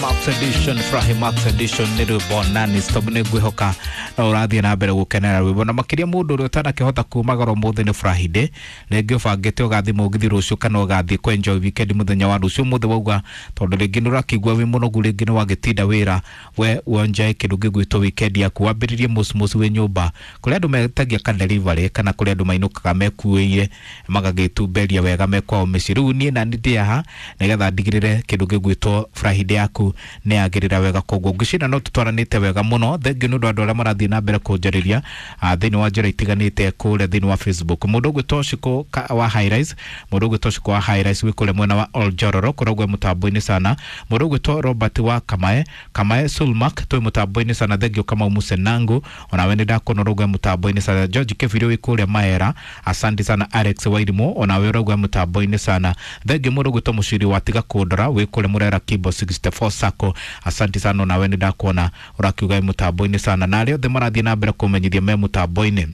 Max Edition, Furahi Max Edition nĩ rwĩmbo nani stop. Nĩ ngwĩhoka no ũrathiĩ na mbere gũkenera rwĩmbo, na makĩria mũndũ ũrĩa ũtanakĩhota kumagara ũmũthĩ nĩ Friday, rĩngĩ ũbangĩte ũgathiĩ mũgithi rũciũ kana ũgathiĩ kũ enjoy weekend mũthenya wa rũciũ. Ũmũthĩ wauga tondũ rĩngĩ nĩ ũrakĩigua wĩ mũnogu, rĩngĩ nĩ wagĩtinda wĩra, we wonjae kĩndũ gĩgwĩtwo weekend yaku, wambĩrĩrie mũciĩ wĩ nyũmba kũrĩa andũ metagia ka delivery kana kũrĩa andũ mainũkaga mekuĩire magagĩtumberia wega me kwao mĩciĩ. Rĩu niĩ nani ndĩ haha nĩgetha ndigĩrĩre kĩndũ gĩgwĩtwo Friday yaku nĩ yagĩrĩra wega. Koguo ngwĩciria no tũtwaranĩte wega mũno. Thengiũ nĩ ũndũ wa andũ arĩa marathiĩ na mbere kũnjarĩria thĩinĩ wa njĩra itiganĩte kũrĩa thĩinĩ wa Facebook. Mũndũ ũgwĩtwo Shiko wa Highrise, mũndũ ũgwĩtwo Shiko wa Highrise wĩ kũrĩa mwena wa Oljororo, kũrĩa mũtambo-inĩ sana. Mũndũ ũgwĩtwo Robert wa Kamae, Kamae Sulmak, twĩ mũtambo-inĩ sana. Thengiũ Kamau Musenangu, onawe nĩ ndakuona ũraugua mũtambo-inĩ sana. George Kebiri wĩ kũrĩa Maera, asante sana. Alex Wairimu, onawe ũraugua mũtambo-inĩ sana. Thengiũ mũndũ ũgwĩtwo Mũciri wa Tiga Kũndora wĩ kũrĩa Murera Kimbo 64 Sacco, asante sana, onawe nĩ ndakuona ũrakiuga wĩ mũtambo-inĩ sana, na arĩa othe marathiĩ na mbere kũmenyithia me mũtambo-inĩ.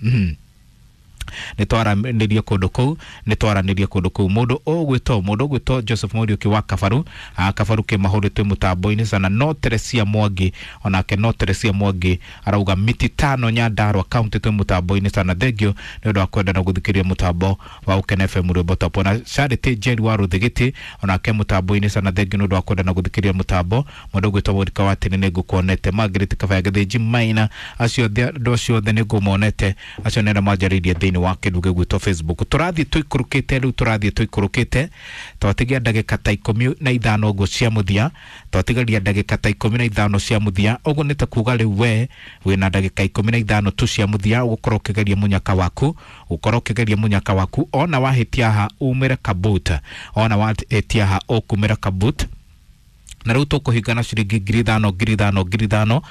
Nĩ twaranĩrie kũndũ kũu, nĩ twaranĩrie kũndũ kũu. Mũndũ ũgwĩtwo Joseph Mũriũki wa Kabaru, Kabaru kĩmahũrĩ, twĩ mũtambo-inĩ sana. No Teresia Mwangi, onake no Teresia Mwangi arauga miti tano Nyandarua County, twĩ mũtambo-inĩ sana. Thengio nĩ ũndũ wa kwenda na gũthikĩrĩria mũtambo wa Ũkene FM rwĩmbo top. Ona Charity Njeri wa Rũthigiti, onake mũtambo-inĩ sana. Thengio nĩ ũndũ wa kwenda na gũthikĩrĩria mũtambo. Mũndũ ũgwĩtwo Mũrika wa Tene, nĩ ngũkuonete. Margaret Kabaya Gĩthĩnji Maina, acio othe, andũ acio othe nĩ ngũmonete, acio nĩ arĩa manjarĩirie thĩinĩ wa kĩndũ gĩgwĩtwo Facebook. Tũrathiĩ tũikũrũkĩte rĩu, tũrathiĩ tũikũrũkĩte, twatigia ndagĩka ta 15 ũguo cia mũthia, twatigaria ndagĩka ta 15 cia mũthia. Ũguo nĩ ta kuga rĩu we wĩna ndagĩka 15 tu cia mũthia ũgũkorwo ũkĩgeria mũnyaka waku, ũkorwo ũkĩgeria mũnyaka waku. Ona wahĩtia haha umĩre kabut, ona wahĩtia haha ũkumĩra kabut. Na rĩu tũkũhingana ciringi 5,000, 5,000, 5,000.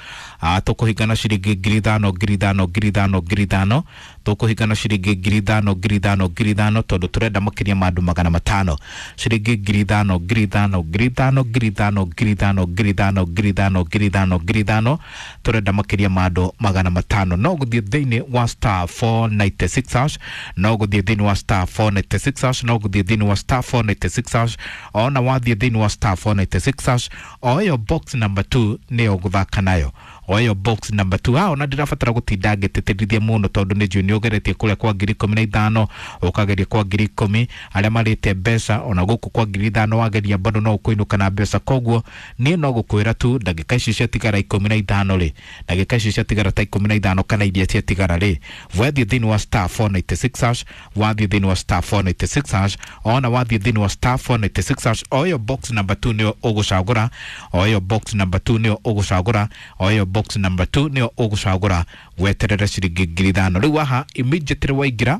Tũkũhingana ciringi 5,000, 5,000, 5,000, 5,000. Tũkũhingana ciringi 5,000, 5,000, 5,000, tondũ tũrenda makĩria ma andũ 500. Ciringi 5,000, 5,000, 5,000, 5,000, 5,000, 5,000, 5,000, 5,000, 5,000. Tũrenda makĩria ma andũ 500. No gũthiĩ thĩinĩ wa *496#, no gũthiĩ thĩinĩ wa *496#, no gũthiĩ thĩinĩ wa *496#. Ona wathiĩ thĩinĩ wa *496#, o ĩyo box number 2 nĩyo gũthaka nayo, o ĩyo box number 2. Ona ndĩrabatara gũtinda ngĩtĩtĩrithia mũno tondũ nĩ njũĩ nĩ ũgeretie kũrĩa kwa 15,000, ũkageria kwa 10,000, arĩa marĩte mbeca, ona gũkũ kwa 5,000 wageria bado no ũkũinũka na mbeca. Koguo niĩ no gũkwĩra tu ndagĩka ici ciatigara 15 rĩ, ndagĩka ici ciatigara ta 15 kana iria ciatigara rĩ, wathiĩ thĩinĩ wa *496#, wathiĩ thĩinĩ wa *496#, ona wathiĩ thĩinĩ wa *496#, o ĩyo box number 2 nĩyo ũgũcagũra, o ĩyo box number 2 nĩyo ũgũcagũra, o ĩyo box number 2 nĩyo ũgũcagũra, weterere ciringi 5,000. Rĩu haha immediately waingĩra,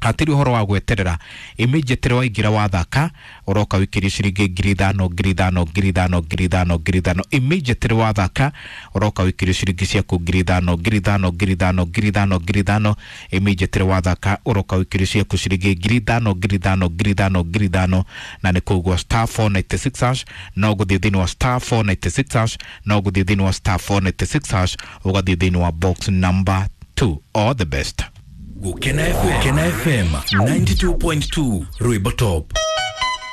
hatirĩ ũhoro wa gweterera, immediately waingĩra wathaka ũroka wĩkĩrie ciringi 5,000, 5,000, 5,000, 5,000, 5,000. Immediately wathaka ũroka wĩkĩrie ciringi ciaku 5,000, 5,000, 5,000, 5,000, 5,000. Immediately wathaka ũroka wĩkĩrie ciaku ciringi 5,000, 5,000, 5,000, 5,000. Na nĩ koguo *496#, no gũthiĩ thĩinĩ wa *496#, no gũthiĩ thĩinĩ wa *496#, ũgathiĩ thĩinĩ wa box number 2. All the best. Gukena FM, Gukena FM 92.2 Rwimbo Top.